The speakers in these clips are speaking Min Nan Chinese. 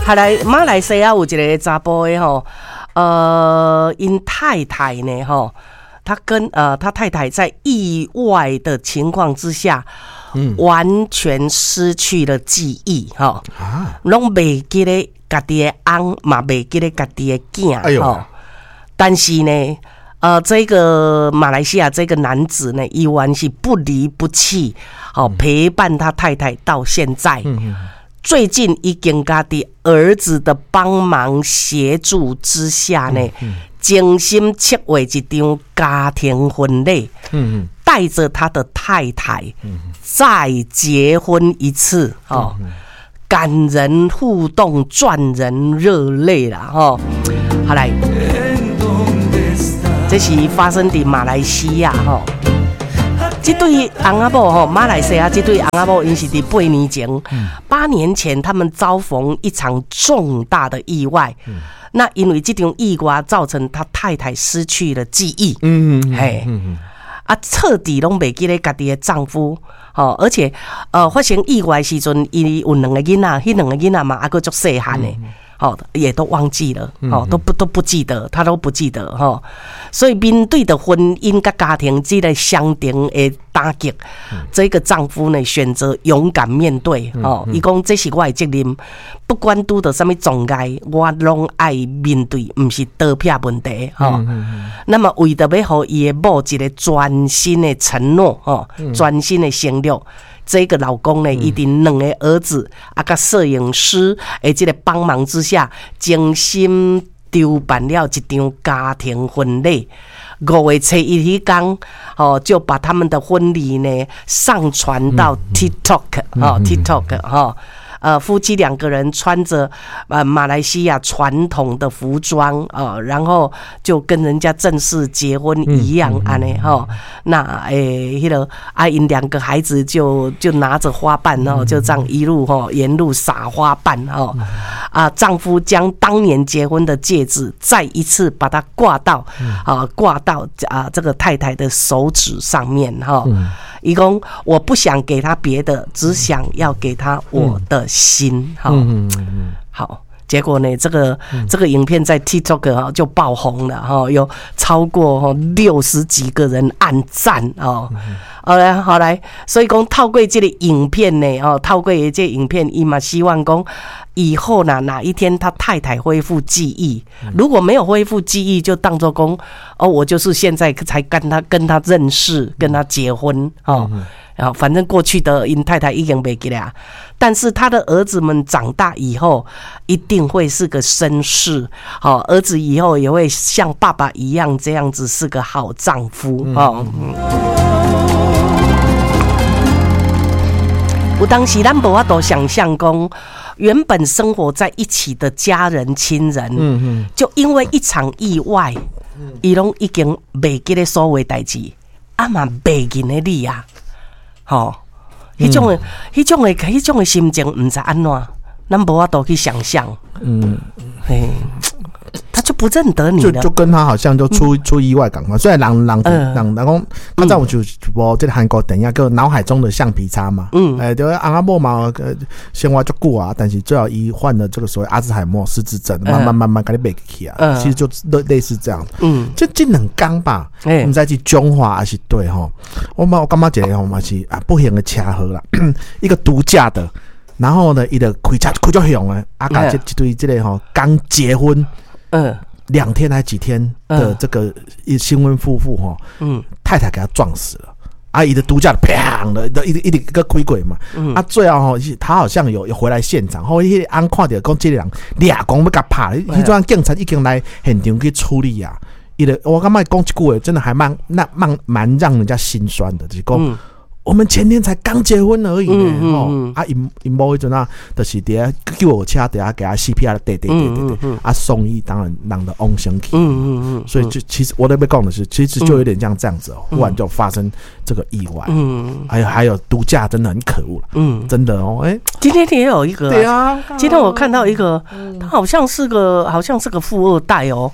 後來馬來西亞有一个查埔的吼，𪜶太太呢吼，他跟他太太在意外的情況之下，完全失去了記憶，吼，攏袂記得家己的翁，嘛袂記得家己的囝，吼。但是呢，這個馬來西亞這個男子呢，依然是不離不棄，好陪伴他太太到現在。最近已經家己兒子的幫忙協助之下呢，精心策劃一場家庭婚禮，帶着他的太太再結婚一次，哦，感人互動，賺人熱淚啦，吼。好來，這是發生佇馬來西亞，吼。這對翁仔某吼，馬來西亞這對翁仔某，𪜶是佇8年前，8年前他們遭逢一場重大的意外。那因為這場意外造成他太太失去了記憶，嘿，啊，徹底攏袂記得家己的丈夫，吼，而且發生意外時陣，伊有兩個囡仔，彼兩個囡仔嘛，猶閣足細漢的。哦，也都忘記了，哦，都不記得，他都不記得，吼。所以面對的婚姻佮家庭這個雙重的打擊，這個丈夫呢選擇勇敢面對，哦，伊講這是我的責任，不管拄著啥物障礙，我攏愛面對，毋是逃避問題，吼。那麼為著欲予伊的某一個全新的承諾，吼，全新的承諾。這個老公呢，伊佇兩個兒子啊，佮攝影師的這個幫忙之下，精心籌辦了一場家庭婚禮。5月初1彼工，哦，就把他們的婚禮呢上傳到 TikTok，哦，TikTok，哈。夫妻兩個人穿着馬來西亞傳統的服裝啊，然後就跟人家正式結婚一樣按呢吼。那欸，彼個啊，𪜶兩個孩子就拿着花瓣哦，就這樣一路吼沿路撒花瓣哦。啊，丈夫將當年結婚的戒指再一次把它掛到這個太太的手指上面哈。伊講我不想給他別的，只想要給他我的心。哈，好，結果呢，這個影片在 TikTok 哈就爆紅了哈，有超過60幾個人按讚哦。好來好來，所以講透過這個影片呢，哦，透過這個影片，伊嘛希望講以後呢，哪一天他太太恢復記憶，如果沒有恢復記憶，就當做講哦，我就是現在才跟他認識，跟他結婚哦。然後反正過去的𪜶太太已經袂記得啊，但是他的兒子們長大以後一定會是個紳士，好，兒子以後也會像爸爸一樣這樣子是個好丈夫哦。有當時咱無法度想象講，原本生活在一起的家人親人，就因為一場意外，伊攏已經袂記得所有代誌，啊嘛袂認得你啊，吼，彼種的心情，毋知按怎，咱無法度去想象。嘿，他就不認得你了，就跟他好像就出意外仝款。雖然人講，較早有就一部這個韓國電影叫《腦海中的橡皮擦》嘛。欸，對，翁仔某嘛，生活足久啊，但是最後伊患了這個所謂阿茲海默失智症，慢慢慢慢共你袂記起啊。其實就類似這樣。這2工吧，毋知是彰化還是佗吼。我感覺一個吼嘛是啊不幸的車禍啦，一個毒駕的。然後呢，伊就開車開足凶的，啊，共這這對這個吼剛結婚，2天還幾天的這個新婚夫婦吼，太太給他撞死了，啊，伊的毒駕砰的，一直一直閣開過嘛，啊，最後吼，他好像有回來現場，後彼個翁看著講這個人掠狂欲共拍，彼陣警察已經來現場去處理啊，伊就我感覺講這句話真的還蠻那蠻蠻讓人家心酸的，就是講。我們前天才剛結婚而已呢，吼！啊，𪜶𪜶某彼陣啊，就是佇遐救護車佇遐共伊 CPR，對對對對對，啊，送醫當然人就往生去，所以就其實我咧欲講的是，其實就有點像這樣子哦，忽然就發生這個意外，還有毒駕真的很可惡，真的哦，欸，今天也有一個，對啊，今天我看到一個，他好像是個富二代哦。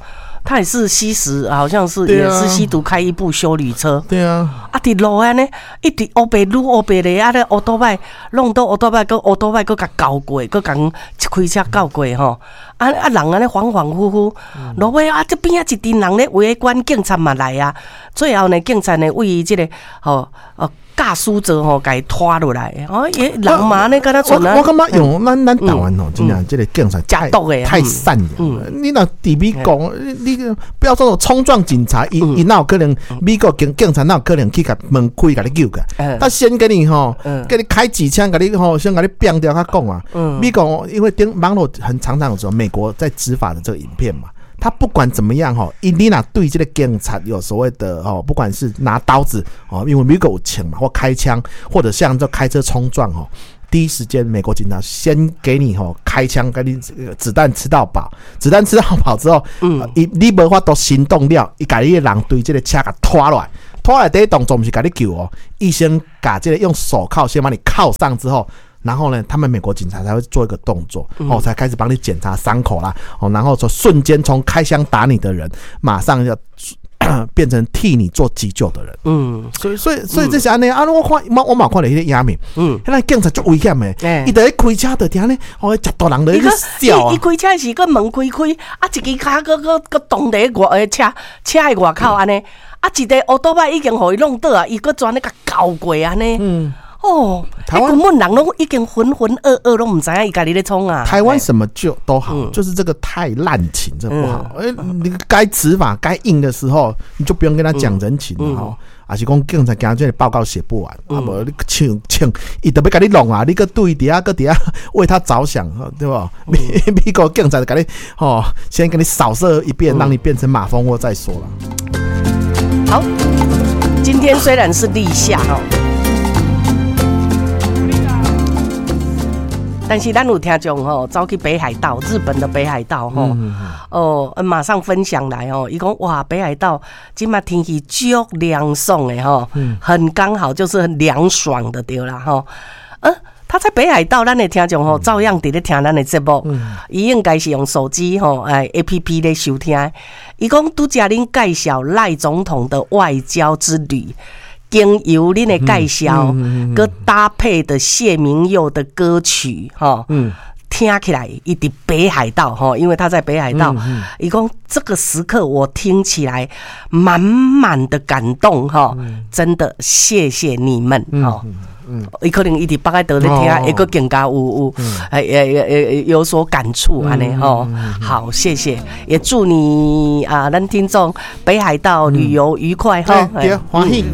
他也是吸食，好像是也是吸毒，開一部休旅車。啊，佇路按呢，一直烏白擼烏白咧，啊咧烏多擺弄到烏多擺，閣烏多擺閣共攪過，閣共開車攪過吼。啊啊，人按呢恍恍惚惚，落尾啊，這邊仔一陣人咧圍觀，警察嘛來啊。最後呢，警察呢為這个吼哦駕駛座吼，共伊拖落來。哦，伊人嘛按呢敢若我我感覺用咱台灣吼，真正這个警察太太善良。你若佇美國，你不要說衝撞警察，伊伊哪有可能？美國警察哪有可能去共門開共你救個？他先給你吼，給你開幾槍，共你吼，先共你拚掉較講啊。美國因為頂網絡很常常有說美國在執法的這個影片嘛。他不管怎麼樣吼，伊你若對這個警察有所謂的哦，不管是拿刀子哦，因為美國有槍嘛，或開槍，或者像這開車衝撞吼，第一時間美國警察先給你吼開槍，給你子彈吃到飽，子彈吃到飽之後，伊你無法度行動了，伊共你的人對這個車共拖落來，拖來第一動作毋是共你救哦，伊先共這個用手銬先把你銬上之後。然後呢，他們美國警察才會做一個動作，哦，才開始幫你檢查傷口啦，哦，然後說瞬間從開槍打你的人，馬上要變成替你做急救的人。所以這是按呢啊，我看我嘛看著彼个影片，彼个警察足危險的，伊佇咧開車就聽咧，哦，一大人咧笑啊。伊開車時閣門開開，啊，一支跤閣閣閣擋佇外車車的外口按呢，啊，一个烏多擺已經予伊弄倒啊，伊閣專咧共攪過按呢。哦，台灣根本人攏已經渾渾噩噩，攏毋知影伊家己咧創啊。台灣什麼就都好，就是這個太濫情，這不好。欸，你該執法該硬的時候，你就不用跟他講人情了吼。啊是講警察驚這個報告寫不完，啊無你槍槍，伊就欲共你弄啊，你閣對佇遐閣佇遐為他着想，對無？美國警察就共你吼，先給你掃射一遍，讓你變成馬蜂窩再說了。好，今天雖然是立夏吼。但是咱有聽眾吼，走去北海道，日本的北海道吼，哦，馬上分享來吼，伊講哇，北海道這馬天氣足涼爽的吼，很剛好就是很涼爽的對啦吼。他在北海道，咱的聽眾吼，照樣佇咧聽咱的節目，伊應該是用手機吼，哎 APP 咧收聽。伊講拄才恁介紹賴總統的外交之旅。經由恁的介紹，閣搭配的謝明佑的歌曲，吼，聽起來伊佇北海道，吼，因為他在北海道，伊講這個時刻我聽起來滿滿的感動，吼，真的謝謝你們，吼，伊可能伊佇北海道咧聽，會閣更加有有所感觸按呢，吼，好，謝謝，也祝你啊，咱聽眾北海道旅遊愉快，哈，對，歡喜，